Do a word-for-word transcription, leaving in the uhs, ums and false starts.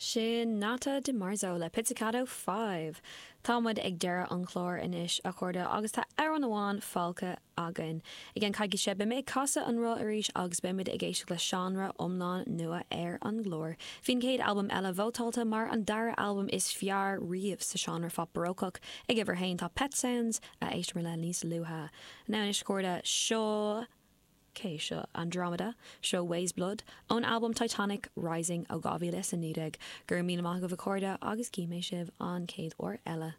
Sin Nata DiMarzo le Pizzicato Five. Tá muid ag deireadh an chláir anois a chairde agus tá amhrán amháin fágtha againn. I gceann coicíse beidh mé ag casadh an roth arís agus beimid ag éisteacht le seánra iomlán nua ar an gclár. Bhí an chéad albam eile vótáilte mar an dara albam is fearr riamh sa seánra phop barócach ag uimhir a haon tá Pet Sounds a éisteamar le níos luaithe. Now anois a chairde seo cé seo Andromeda seo Weyes Blood ón album Titanic Rising ó dhá mhíle is a naoi déag gur mí amach go bhcóirde agus cí mé sibh an chéad uair eile.